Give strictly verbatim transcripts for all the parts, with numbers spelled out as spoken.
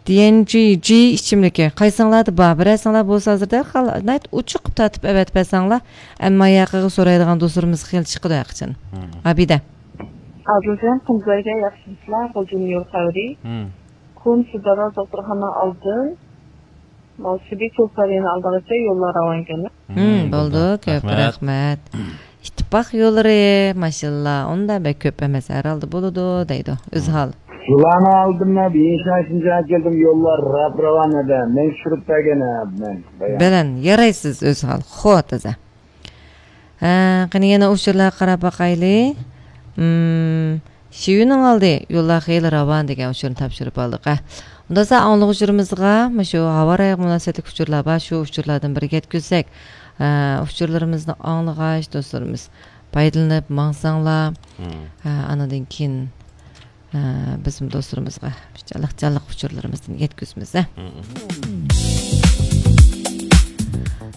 دىيەنجى جى ئىچىملىكى قايسىڭلاردا بار؟ بىرەرسىڭلار بولسا ھازىر دەرھال ناھايىتى ئوچۇق قىلىپ تارتىپ ئەۋەتىپ بەرسەڭلار، ئەمما ياقىغا سورايدىغان دوستلىرىمىز خېلى چىقىدۇ ھەرقاچان. مم. ئابىدە. ئادىلجان، قۇمزايغا ياخشىمىسىلەر؟ غۇلجىنىڭ يول خەۋىرى. مم. كونا سىدارا دوختۇرخانا ئالدىن ماۋسىبى كوسارىنى ئالدىغىچە يوللار راۋان ئىكەن. مم، مم، بولدى. بولدى. كۆپ رەھمەت. رەھمەت. ئىتتىپاق يوللىرى، ماشاللا، ئۇنداق بەك كۆپ ئەمەس، ھەر ھالدا بولىدۇ، دەيدۇ. ئۆزھال. شۇلارنىڭ ئالدىمدا بىر شاشىنچە كەلدىم، يوللار راپ راۋان ئەدە، مەن چۈشۈرۈپ بەرگەن، ھە، مەن بايان. بەلەن، يارايسىز، ئۆزھال. خو، تازا. ھە، قېنى يەنە ئۇچۇرلارغا قاراپ باقايلى. مم، شىۋىنىڭ ئالدى، يوللار خېلى راۋان دېگەن ئۇچۇرنى تاپشۇرۇپ ئالدۇق، ھە. ئۇنداقسا ئاڭلىغۇچىلىرىمىزغا مۇشۇ ھاۋا رايىغا مۇناسىۋەتلىك ئۇچۇرلار بار، شۇ ئۇچۇرلاردىن بىرگە يەتكۈزسەك، ئە، ئۇچۇرلىرىمىزنى ئاڭلىغاچ دوستلىرىمىز پايدىلىنىپ ماڭساڭلار، مم. ئە، ئانىدىن كېيىن، ئە، بىزمۇ دوستلىرىمىزغا جانلىق جانلىق ئۇچۇرلىرىمىزدىن يەتكۈزىمىز، ھە. مم.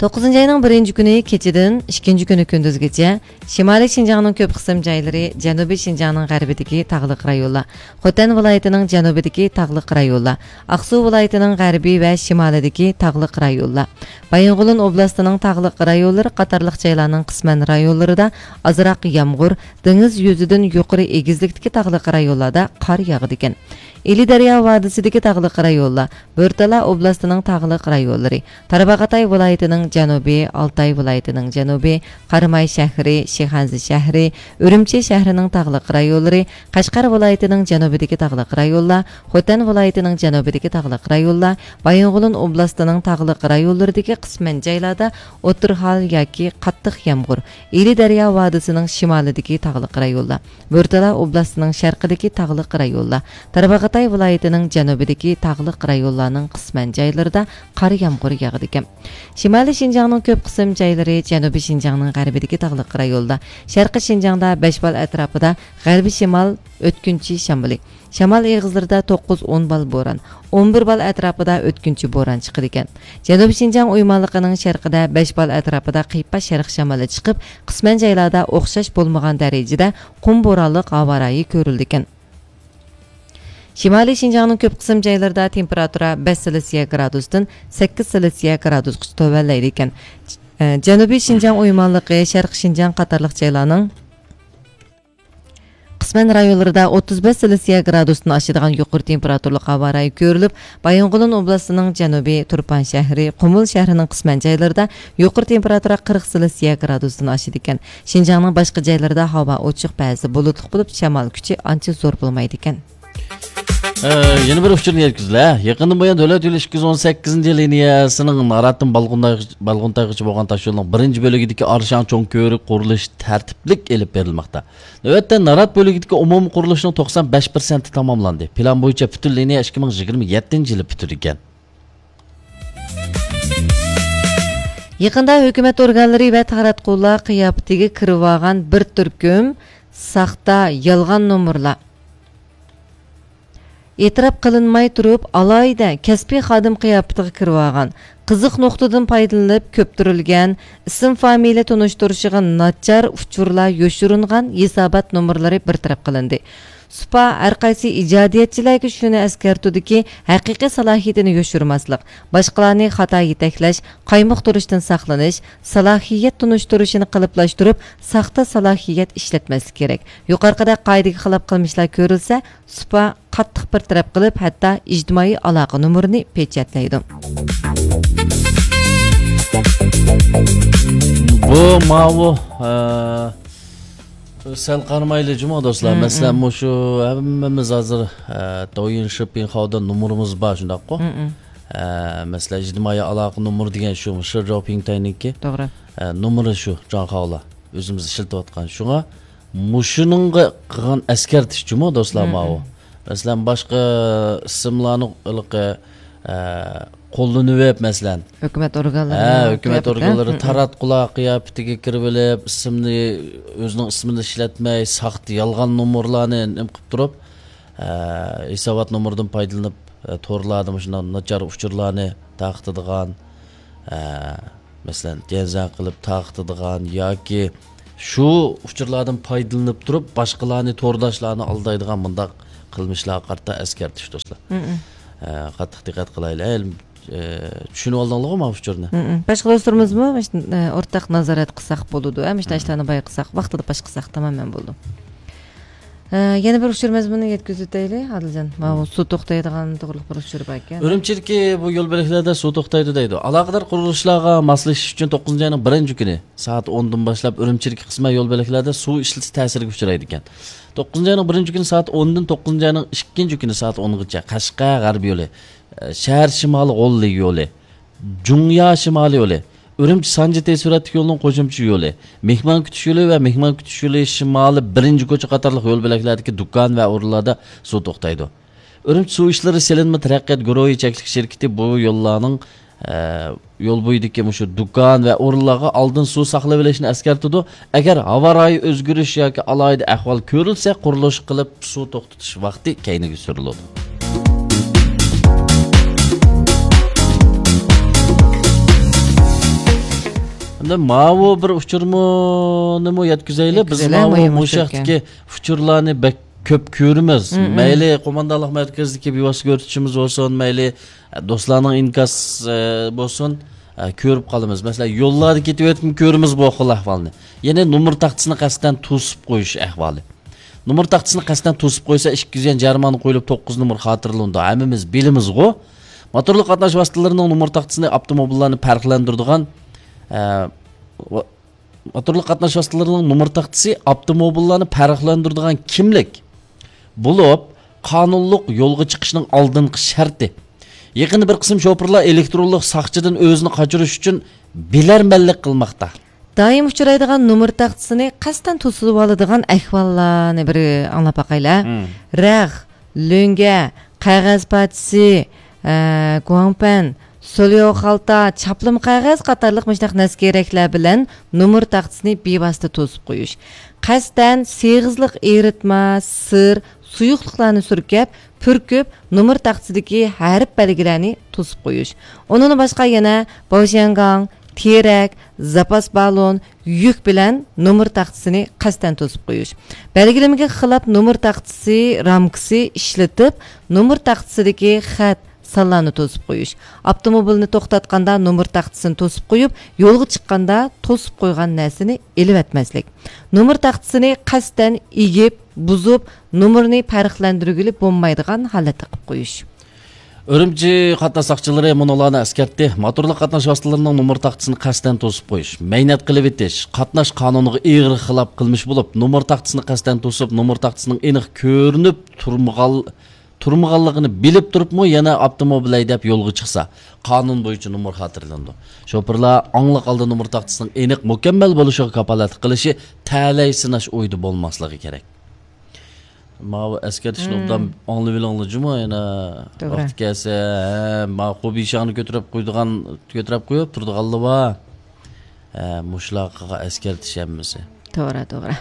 توققۇزىنچى ئاينىڭ بىرىنچى كۈنى كېچىدىن ئىككىنچى كۈنى كۈندۈزگىچە شىمالىي شىنجاڭنىڭ كۆپ قىسىم جايلىرى، جەنۇبىي شىنجاڭنىڭ غەربىدىكى تاغلىق رايونلار، خوتەن ۋىلايىتىنىڭ جەنۇبىدىكى تاغلىق رايونلار، ئاقسۇ ۋىلايىتىنىڭ غەربى ۋە شىمالىدىكى تاغلىق رايونلار، بايىنغولىن ئوبلاستىنىڭ تاغلىق رايونلىرى قاتارلىق جايلارنىڭ قىسمەن رايونلىرىدا ئازراق يامغۇر، دېڭىز يۈزىدىن يۇقىرى ئېگىزلىكتىكى تاغلىق رايونلاردا قار ياغىدىكەن. ئىلى دەريا ۋادىسىدىكى تاغلىق رايونلار، بورتالا ئوبلاستىنىڭ تاغلىق رايونلىرى، تارباغاتاي ۋىلايىتىنىڭ جەنۇبى، ئالتاي ۋىلايىتىنىڭ جەنۇبى، قاراماي شەھىرى، شىخەنزە شەھىرى، ئۈرۈمچى شەھىرىنىڭ تاغلىق رايونلىرى، قەشقەر ۋىلايىتىنىڭ جەنۇبىدىكى تاغلىق رايونلار، خوتەن ۋىلايىتىنىڭ جەنۇبىدىكى تاغلىق رايونلار، بايىنغولىن ئوبلاستىنىڭ تاغلىق رايونلىرىدىكى قىسمەن جايلاردا ئوتتۇرا ھال ياكى قاتتىق يامغۇر، ئىلى دەريا ۋادىسىنىڭ شىمالىدىكى تاغلىق رايونلار، بورتالا ئوبلاستىنىڭ شەرقىدىكى تاغلىق رايونلار، تارباغاتاي ۋىلايىتىنىڭ جەنۇبىدىكى تاغلىق رايونلارنىڭ قىسمەن جايلىرىدا قار يامغۇر ياغىدىكەن. شىمالىي شىنجاڭنىڭ كۆپ قىسىم جايلىرى، جەنۇبىي شىنجاڭنىڭ غەربىدىكى تاغلىق رايونلار، شەرقىي شىنجاڭدا بەش بال ئەتراپىدا غەربىي شىمال ئۆتكۈنچى شامىلى، شامال ئېغىزلىرىدا توققۇز ئون بال بوران، ئون بىر بال ئەتراپىدا ئۆتكۈنچى بوران چىقىدىكەن. جەنۇبىي شىنجاڭ ئويمانلىقىنىڭ شەرقىدە بەش بال ئەتراپىدا قىيپاش شەرق شامىلى چىقىپ، قىسمەن جايلاردا ئوخشاش بولمىغان دەرىجىدە قۇم بورانلىق ھاۋا رايى كۆرۈلىدىكەن. شىمالىي شىنجاڭنىڭ كۆپ قىسىم جايلىرىدا تېمپېراتۇرا بەش سېلسىيە گرادۇستىن سەككىز سېلسىيە گرادۇسقىچە تۆۋەنلەيدىكەن. ئە، جەنۇبىي شىنجاڭ ئويمانلىقى، شەرقىي شىنجاڭ قاتارلىق جايلارنىڭ قىسمەن رايونلىرىدا ئوتتۇز بەش سېلسىيە گرادۇستىن ئاشىدىغان يۇقىرى تېمپېراتۇرىلىق ھاۋا رايى كۆرۈلۈپ، بايىنغولىن ئوبلاستىنىڭ جەنۇبى، تۇرپان شەھىرى، قۇمۇل شەھىرىنىڭ قىسمەن جايلىرىدا يۇقىرى تېمپېراتۇرا قىرىق سېلسىيە گرادۇستىن ئاشىدىكەن. شىنجاڭنىڭ باشقا جايلىرىدا ھاۋا ئوچۇق، بەزىدە بۇلۇتلۇق بولۇپ، شامال كۈچى ئانچە زور بولمايدىكەن. ئە، يەنە بىر ئۇچۇرنى يەتكۈزىلە. يېقىندىن بۇيان دۆلەت يولى ئىككى يۈز ئون سەككىزىنچى لىنىيەسىنىڭ ناراتتىن بالغۇنتايغىچە، بالغۇنتايغىچە بولغان تاشيولىنىڭ بىرىنچى بۆلىكىدىكى ئارشاڭ چوڭ كۆۋرۈك قۇرۇلۇشى تەرتىپلىك ئېلىپ بېرىلماقتا. نۆۋەتتە نارات بۆلىكىدىكى ئومۇمىي قۇرۇلۇشنىڭ توقسان بەش پىرسەنتى تاماملاندى. پىلان بويىچە پۈتۈن لىنىيە ئىككى مىڭ يىگىرمە يەتتىنچى يىلى پۈتىدىكەن. يېقىندا ھۆكۈمەت ئورگانلىرى ۋە تاراتقۇلار قىياپىتىگە كىرىۋالغان بىر تۈركۈم ساختا، يالغان نومۇرلار. ئېتىراپ قىلىنماي تۇرۇپ، ئالاھىدە كەسپىي خادىم قىياپىتىگە كىرىۋالغان، قىزىق نۇقتىدىن پايدىلىنىپ كۆپتۈرۈلگەن، ئىسىم فامىلە تونۇشتۇرۇشىغا ناچار ئۇچۇرلار يوشۇرۇنغان ھېسابات نومۇرلىرى بىر تەرەپ قىلىندى. سۇپا ھەرقايسى ئىجادىيەتچىلەرگە شۇنى ئەسكەرتىدۇكى، ھەقىقىي سالاھىيىتىنى يوشۇرماسلىق، باشقىلارنى خاتا يېتەكلەش، قايمۇقتۇرۇشتىن ساقلىنىش، سالاھىيەت تونۇشتۇرۇشىنى قېلىپلاشتۇرۇپ، ساختا سالاھىيەت ئىشلەتمەسلىك كېرەك. يۇقىرىقىدەك قائىدىگە خىلاپ قىلمىشلار كۆرۈلسە، سۇپا قاتتىق بىر تەرەپ قىلىپ، ھەتتا ئىجتىمائىي ئالاقە نومۇرىنى پېچەتلەيدۇ. بۇ ماۋۇ، ئە، سەل قارىمايلى جۇمۇ دوستلار. مم، مەسىلەن، مم. مۇشۇ ھەممىمىز ھازىر، ئە، دويىن شىپىڭخاۋدا نومۇرىمىز بار، شۇنداققۇ؟ مم، مم. ئە، مەسىلەن، ئىجتىمائىي ئالاقە نومۇرى دېگەن شۇ، شى جاۋپىڭتاينىڭكى. توغرا. ئە، نومۇرى شۇ، جاڭخاۋلا. ئۆزىمىز ئىشلىتىۋاتقان. شۇڭا مۇشۇنىڭغا قىلغان ئەسكەرتىش جۇمۇ دوستلار مم، ماۋۇ. مم. مەسىلەن، باشقا ئىسىملارنى ھېلىقى، ئە، قوللىنىۋېلىپ، مەسىلەن. ھۆكۈمەت ئورگانلىرى ھە، ھۆكۈمەت قىياپىتى. ئورگانلىرى مم، مم. تاراتقۇلار قىياپىتىگە كىرىۋېلىپ، ئىسىمنى، ئۆزىنىڭ ئىسمىنى ئىشلەتمەي، ساختا، يالغان نومۇرلارنى نېمە قىلىپ تۇرۇپ، ئە، ھېسابات نومۇرىدىن پايدىلىنىپ، ئە، تورلاردا مۇشۇنداق ناچار ئۇچۇرلارنى تارقىتىدىغان، ئە، مەسىلەن، گەنزەڭ قىلىپ تارقىتىدىغان ياكى شۇ ئۇچۇرلاردىن پايدىلىنىپ تۇرۇپ، باشقىلارنى، تورداشلارنى ئالدايدىغان مۇنداق قىلمىشلارغا قارىتا ئەسكەرتىش، دوستلار. مم، مم. ئە، قاتتىق دىققەت قىلايلى. ئە، ئە، چۈشىنىۋالدىڭلارغۇ ماۋۇ ئۇچۇرنى؟ مم. باشقا دوستلىرىمىزمۇ مۇشۇ، ئە، ئورتاق نازارەت قىلساق بولىدۇ، ئە، مۇشۇنداق مم. ئىشلارنى بايقىساق، ۋاقتىدا پاش قىلساق تامامەن بولىدۇ. ئە، يەنە بىر ئۇچۇر مەزمۇنىنى يەتكۈزۈپ ئۆتەيلى، ئادىلجان. ماۋۇ مم. سۇ توختايدىغان توغرىلىق بىر ئۇچۇر باركەن. ئۈرۈمچىدىكى بۇ يول بۆلەكلەردە سۇ توختايدۇ دەيدۇ. ئالاقىدار قۇرۇلۇشلارغا ماسلىشىش ئۈچۈن توققۇزىنچى ئاينىڭ بىرىنچى كۈنى سائەت ئوندىن باشلاپ ئۈرۈمچىدىكى قىسمەن يول بۆلەكلەردە سۇ ئىشلىتىش تەسىرىگە ئۇچرايدىكەن. توققۇزىنچى ئاينىڭ بىرىنچى كۈنى سائەت ئوندىن توققۇزىنچى ئاينىڭ ئىككىنچى كۈنى سائەت ئونغىچە قەشقەر غەربىي يولى، شەھەر شىمالىي غوللىگى يولى، جۇڭيا شىمالىي يولى، ئۈرۈمچى سانجى تېز سۈرئەتلىك يولىنىڭ قوشۇمچە يولى، مېھمان كۈتۈش يولى ۋە مېھمان كۈتۈش يولى شىمالىي بىرىنچى كوچا قاتارلىق يول بۆلەكلەردىكى دۇكان ۋە ئورۇنلاردا سۇ توختايدۇ. ئۈرۈمچى سۇ ئىشلىرى سېلىنما تەرەققىيات گۇرۇھى چەكلىك شىركىتى بۇ يوللارنىڭ، ئە، يول بويىدىكى مۇشۇ دۇكان ۋە ئورۇنلارغا ئالدىن سۇ ساقلىۋېلىشنى ئەسكەرتىدۇ. ئەگەر ھاۋا رايى ئۆزگىرىش ياكى ئالاھىدە ئەھۋال كۆرۈلسە، قۇرۇلۇش قىلىپ سۇ توختىتىش ۋاقتى كەينىگە سۈرۈلىدۇ. ئەمدى ماۋۇ بىر ئۇچۇرمۇنىمۇ يەتكۈزەيلى. بىز يەتكۈزەيلى، ماۋۇ مۇھىم مۇشۇ ئۇچۇركەن. ھەقتىكى ئۇچۇرلارنى بەك كۆپ كۆرىمىز. مم، مم. مەيلى قوماندانلىق مەركىزىدىكى بىۋاسىتە كۆرسىتىشىمىز بولسۇن، مەيلى، ئە، دوستلارنىڭ ئىنكاس، ئە، بولسۇن، ئە، كۆرۈپ قالىمىز. مەسىلەن، يوللاردا كېتىۋېتىپمۇ كۆرىمىز بۇ خىل ئەھۋالنى. يەنى نومۇر تاختىسىنى قەستەن توسۇپ قويۇش ئەھۋالى. نومۇر تاختىسىنى قەستەن توسۇپ قويسا، ئىككى يۈز يۈەن جەرىمانە قويۇلۇپ، توققۇز نومۇر خاتىرىلىنىدۇ. ھەممىمىز بىلىمىزغۇ. موتورلۇق قاتناش ۋاسىتىلىرىنىڭ نومۇر تاختىسىنى ئاپتوموبىللارنى پەرقلەندۈرىدىغان، ئە، ۋا-، موتورلۇق قاتناش ۋاسىتىلىرىنىڭ نومۇر تاختىسى ئاپتوموبىللارنى پەرقلەندۈرىدىغان كىملىك بولۇپ، قانۇنلۇق يولغا چىقىشنىڭ ئالدىنقى شەرتى. يېقىندا بىر قىسىم شوپۇرلار ئېلېكترونلۇق ساقچىدىن ئۆزىنى قاچۇرۇش ئۈچۈن بىلەرمەنلىك قىلماقتا. دائىم ئۇچرايدىغان نومۇر تاختىسىنى قەستەن توسۇۋالىدىغان ئەھۋاللارنى بىر ئاڭلاپ باقايلى. مم. رەخ، لۆڭگە، قەغەز پارچىسى، ئە، گۇاڭپەن، سوليو خالتا، چاپلىما قەغەز قاتارلىق مۇشۇنداق نەرسە-كېرەكلەر بىلەن نومۇر تاختىسىنى بىۋاسىتە توسۇپ قويۇش. قەستەن سېغىزلىق ئېرىتمە، سىر، سۇيۇقلۇقلارنى سۈركەپ، پۈركۈپ، نومۇر تاختىسىدىكى ھەرپ بەلگىلەرنى توسۇپ قويۇش. ئۇنىڭدىن باشقا يەنە باۋشيەنگاڭ، تېرەك، زاپاس بالون، يۈك بىلەن نومۇر تاختىسىنى قەستەن توسۇپ قويۇش. بەلگىلىمىگە خىلاپ نومۇر تاختىسى رامكىسى ئىشلىتىپ، نومۇر تاختىسىدىكى خەت، سانلارنى توسۇپ قويۇش. ئاپتوموبىلنى توختاتقاندا نومۇر تاختىسىنى توسۇپ قويۇپ، يولغا چىققاندا توسۇپ قويغان نەرسىنى ئېلىۋەتمەسلىك. نومۇر تاختىسىنى قەستەن ئېگىپ، بۇزۇپ، نومۇرنى پەرقلەندۈرگىلى بولمايدىغان ھالەتتە قىلىپ قويۇش. ئۈرۈمچى قاتناش ساقچىلىرى مۇنۇلارنى ئەسكەرتتى: موتورلۇق قاتناش ۋاسىتىلىرىنىڭ نومۇر تاختىسىنى قەستەن توسۇپ قويۇش، مەينەت قىلىۋېتىش قاتناش قانۇنىغا ئېغىر خىلاپ قىلمىش بولۇپ، نومۇر تاختىسىنى قەستەن توسۇپ، نومۇر تاختىسىنىڭ ئېنىق كۆرۈنۈپ تۇرمىغان-، تۇرمىغانلىقىنى بىلىپ تۇرۇپمۇ يەنە ئاپتوموبىل ھەيدەپ يولغا چىقسا، قانۇن بويىچە نومۇر خاتىرىلىنىدۇ. شوپۇرلار ئاڭلىق ھالدا نومۇر تاختىسىنىڭ ئېنىق، مۇكەممەل بولۇشىغا كاپالەتلىك قىلىشى، تەلەي سىناش ئويىدا بولماسلىقى كېرەك. ماۋۇ ئەسكەرتىشنى مم. ئوبدان ئاڭلىۋېلىڭلار جۇمۇ، يەنە توغرا. ۋاقتى كەلسە، ھە، ما خوبىشاڭنى كۆتۈرۈپ قويىدىغان، كۆتۈرۈپ قويۇپ تۇرىدىغانلار بار. ھە، مۇشۇلارغا ئەسكەرتىش ھەممىسى. توغرا، توغرا.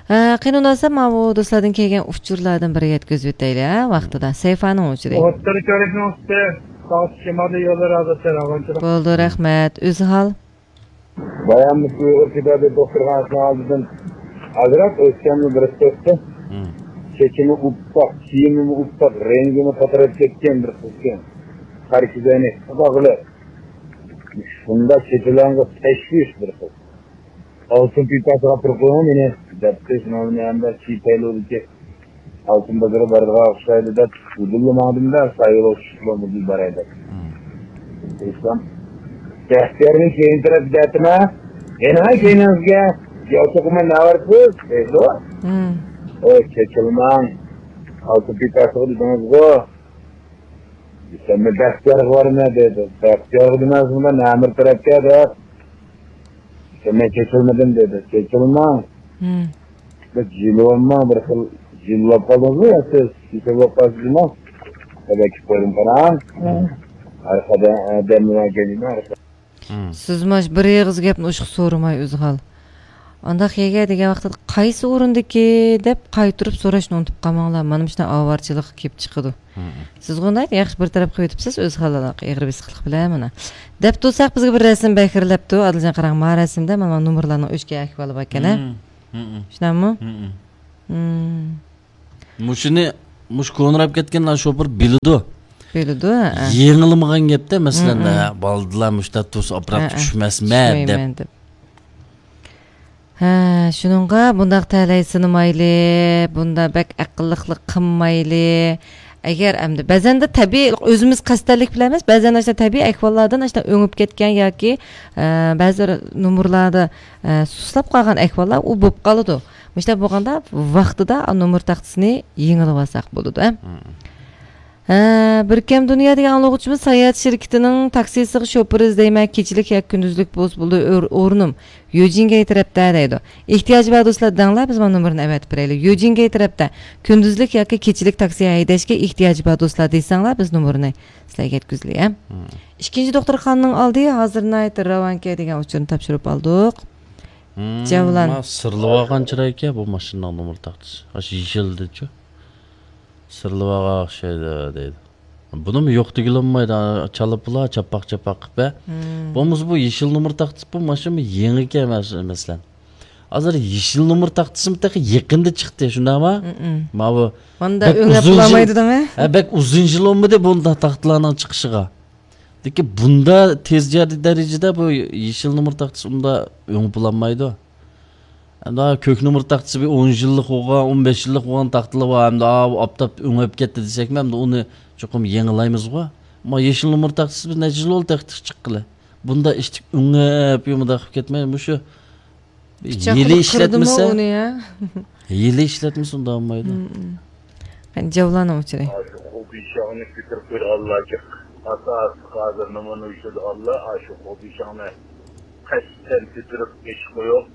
ھە، قېنى ئۇنداقسا ماۋۇ دوستلاردىن كەلگەن ئۇچۇرلاردىن بىرى يەتكۈزۈپ ئۆتەيلى، ھە، ۋاقتىدا. سەيفانىڭ ئۇچۇرى. ئوتتۇرا كۆرۈكنىڭ ئۈستى، ساغ شىمالىي يوللىرى ھازىر سەل ئاغۇنچىلىق. بولدى، رەھمەت. ئۆزھال. بايام مۇشۇ ئۇيغۇر كىتابى دوختۇرخانىسىنىڭ ئالدىدىن ئازراق ئۆتكەندە بىرسى ئۆتتى. مم. چېچىمۇ ئۇپپاق، كىيىمىمۇ ئۇپپاق، رەڭگىمۇ پاتىراپ كەتكەن بىر قىزكەن. قارا كۆزەينەك، قىزاقلىق. شۇنداق چېچىلارغا تەشۋىش بىر قىز. ئالتۇن پىپاسىغا پۇرىقىڭ مېنى دەپتۇ، شۇنىڭ بىلەن ھەمدە چىپەيلۇدىكى ئالتۇن بازىرى بارىدىغان ئوخشايدۇ دەپ، ئۇدۇللا ماڭدىم-دە، سايىل ئوخشىشىپلا مۇدىل باراي دەپ. مم. دېسەم، بەختىيارنى كەينى تەرەپ دەتىمە، يەنە كەينىڭىزگە، ياۋچۇقىمەن نەۋەرسىز دەيدۇ. مم. ئوي، چېچىلماڭ، ئالتۇن پىپاسىغا دېدىڭىزغۇ. دېسەم، مەن بەختىيارغا بارىمەن دەيدۇ. بەختىيارغا دېمەسمۇ، نەمىر تەرەپكە دەپ. دېسەم، مەن چېچىلمىدىم دېدى. چېچىلماڭ. مم. بىر جىلۋامماڭ، بىر خىل جىلۋاپ قالدىڭىزمۇ يا سىز؟ كېسەل بولۇپ قالسىزمۇ؟ خەۋەر كېلىپ قويدۇم، قاراڭ. مم. ئارقىدا، ئە، دەملىمەي كەلدىم، ئارقىدا. مم. سىز ماش بىر ئېغىز گەپنى ئوشۇق سورىماي ئۆزھال. ئانداق يەرگە دېگەن ۋاقتىدا قايسى ئورۇندىكى دەپ قايتۇرۇپ سوراشنى ئۇنتۇپ قالماڭلار. مانا مۇشۇنداق ئاۋارىچىلىق كېلىپ چىقىدۇ. مم. سىز غۇنداق ياخشى بىر تەرەپ قىلىۋېتىپسىز، ئۆزھال ئېغىر بېسىقلىق بىلەن مانا. دەپ تۇرساق بىزگە بىر رەسىم بەكرىلەپتۇ. ئادىلجان قاراڭ، ما رەسىمدە مانا نومۇرلارنىڭ ئۆچكەن ئەھۋالى باركەن، ھە؟ مم. مم. شۇنداقمۇ؟ مم. مم. مۇشۇنى، مۇشۇ كونىراپ كەتكەن شوپۇر بىلىدۇ. بىلىدۇ، ھە. يېڭىلمىغان گەپتە، مەسىلەن، ھە، بالدىلار مۇشتا تۇرسا ئاپىراپ ھە، ھە. چۈشمەسمە دەپ. چۈشمەيمەن دەپ. ھە، شۇنىڭغا بۇنداق تەلەيسىنىمايلى، بۇنداق بەك ئەقىللىقلىق قىلمايلى. ئەگەر ئەمدى بەزەندە تەبىئىي، ئۆزىمىز قەستەنلىك بىلەن ئەمەس، بەزەن ئاشۇنداق تەبىئىي ئەھۋاللاردىن ئاشۇنداق ئۆڭۈپ كەتكەن ياكى، ئە، بەزى بىر نومۇرلاردا، ئە، سۇسلاپ قالغان ئەھۋاللار ئۇ بولۇپ قالىدۇ. مۇشۇنداق بولغاندا ۋاقتىدا نومۇر تاختىسىنى يېڭىلىۋالساق بولىدۇ، ھە؟ مم. ھە، بىركەم دۇنيا دېگەن ئاڭلىغۇچىمىز ساياھەت شىركىتىنىڭ تاكسىسىغا شوپۇر ئىزدەيمەن، كېچىلىك ياكى كۈندۈزلۈك بولسا بولىدۇ، ئور-، ئورنۇم يۈجىنگەي تەرەپتە دەيدۇ. ئېھتىياجى بار دوستلار دەڭلار، بىز مانا نومۇرنى ئەۋەتىپ بېرەيلى. يۈجىنگەي تەرەپتە كۈندۈزلۈك ياكى كېچىلىك تاكسى ھەيدەشكە ئېھتىياجى بار دوستلار دېسەڭلار، بىز نومۇرنى سىلەرگە يەتكۈزىلى، ھە؟ مم. ئىككىنچى دوختۇرخانىنىڭ ئالدى ھازىر ناھايىتى راۋانكەن دېگەن ئۇچۇرنى تاپشۇرۇپ ئالدۇق. مم، جەۋلان. ما سىرلىۋالغان چىرايكەن بۇ ماشىنىنىڭ نومۇر تاختىسى. ئاشۇ يېشىلدىچۇ. سىرلىۋالغان ئوخشايدۇ دەيدۇ. بۇنىمۇ يوق دېگىلى بولمايدۇ. چالاپلا، چاپاق-چاپاق قىلىپ، ھە. مم. بولمىسا بۇ يېشىل نومۇر تاختىسى، بۇ ماشىنا يېڭىكەن، مەس-، مەسىلەن. ھازىر يېشىل نومۇر تاختىسىمۇ تېخى يېقىندا چىقتى، شۇنداقمۇ؟ مم. ماۋۇ ماندا بەك ئۆڭلەپ ئۇزۇن يىل، بولالمايدۇ دەڭە. ھە، بەك ئۇزۇن يىل بولمىدى بۇنداق تاختىلارنىڭ چىقىشىغا. لېكىن بۇندا تېز جەر-، دەرىجىدە بۇ يېشىل نومۇر تاختىسى ئۇندا ئۆڭۈپ بولالمايدۇ. ئەمدى كۆك نومۇر تاختىسى بىر ئون يىللىق بولغان، ئون بەش يىللىق بولغان تاختىلار بار. ئەمدى ئاۋۇ ئاپتاپ ئۆڭۈپ كەتتى دېسەكمۇ، ئەمدى ئۇنى چوقۇم يېڭىلايمىزغۇ. ئەمما يېشىل نومۇر تاختىسى بىز نەچچە يىل بولدى تېخى چىققىلى. بۇندا ئىشتىك ئۆڭۈپ، مۇنداق قىلىپ كەتمەي، مۇشۇ پىچاق ھىيلە قىلىپ قىردىمۇ ئىشلەتمىسە، ئۇنى، ھە؟ ھىيلە ئىشلەتمىسە ئۇنداق بولمايدۇ. مم، مم. قېنى، جاۋلاننىڭ ئۇچۇرى. ئاشۇ خۇبىشاڭنى كۆتۈرۈپ قويغانلار جىق. ئاساسلىق ھازىر نېمىنى ئۇچۇرىدىغانلار، ئاشۇ خۇبىشاڭنى قەستەن كۆتۈرۈپ ئېشىپ قويۇپ،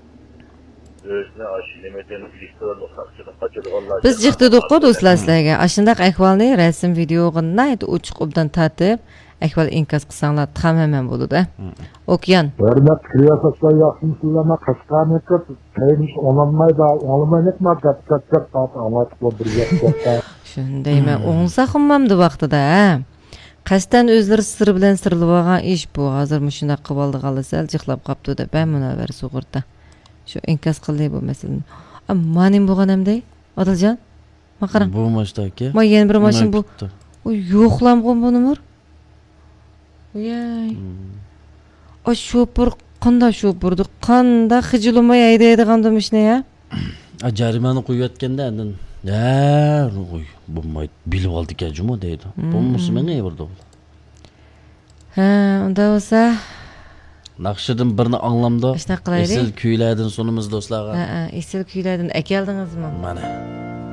ئۆزىنى ئاشۇ نېمىدىن، ئېلېكترونلۇق ساقچىدىن قاچىدىغانلار بىز جىق. جىق دېدۇققۇ، دوستلار، سىلەرگە. ئاشۇنداق ئەھۋالنى رەسىم، ۋىدېئوغا ناھايىتى ئوچۇق ئوبدان تارتىپ، ئەھۋال ئىنكاس قىلساڭلار تامامەن بولىدۇ. مم. ئوكيان. ھۆرمەتلىك رىياسەتچىلەر، ياخشىمۇسىلەر؟ مەن قەشقەرنىڭكى تەيمىش ئۇنىمايدۇ، ئاڭلىمايدۇ، ما گەپ گەپ گەپ، سائەت ئاڭلايتتۇق بۇ بىر گەپ گەپ. شۇندايمەن، مم. ئوڭساق ئۇممامدۇ ۋاقتىدا، ھە؟ قەستەن ئۆزلىرى سىر بىلەن سىرلىۋالغان ئىش بۇ. ھازىر مۇشۇنداق قىلىۋالدىغانلا سەل جىقلاپ قاپتۇ دەپ، ھە، مۇنەۋۋەر سۇغۇرتا. شۇ ئىنكاس قىلدى بۇ مەسىلىنى. ئا، ما نېمە بولغان ئەمدى؟ ئادىلجان؟ ما قاراڭ. بۇ ماشتاكى. ما يەنە بىر ماشىنا بۇ. ئۇ يوقلامغۇ بۇ نومۇر. ۋىيەي. مم. ئا، شوپۇر قانداق شوپۇردۇ؟ قانداق خىجىلماي ھەيدەيدىغاندۇ ماشىنا يا؟ ئا، جەرىمانە قويۇۋەتكەندە ئاندىن، ھە، ئۇي، بولمايدۇ. بىلىۋالدىكەن جۇمۇ دەيدۇ. مم. بولمىسا مېڭىۋېرىدۇ. ھە، ئۇنداق بولسا. ناخشىدىن بىرنى ئاڭلامدۇ. ئاشۇنداق قىلايلى. ئېسىل كۈيلەردىن سۇنىمىز دوستلارغا. ھە، ھە، ئېسىل كۈيلەردىن ئەكەلدىڭىزمۇ؟ مانا.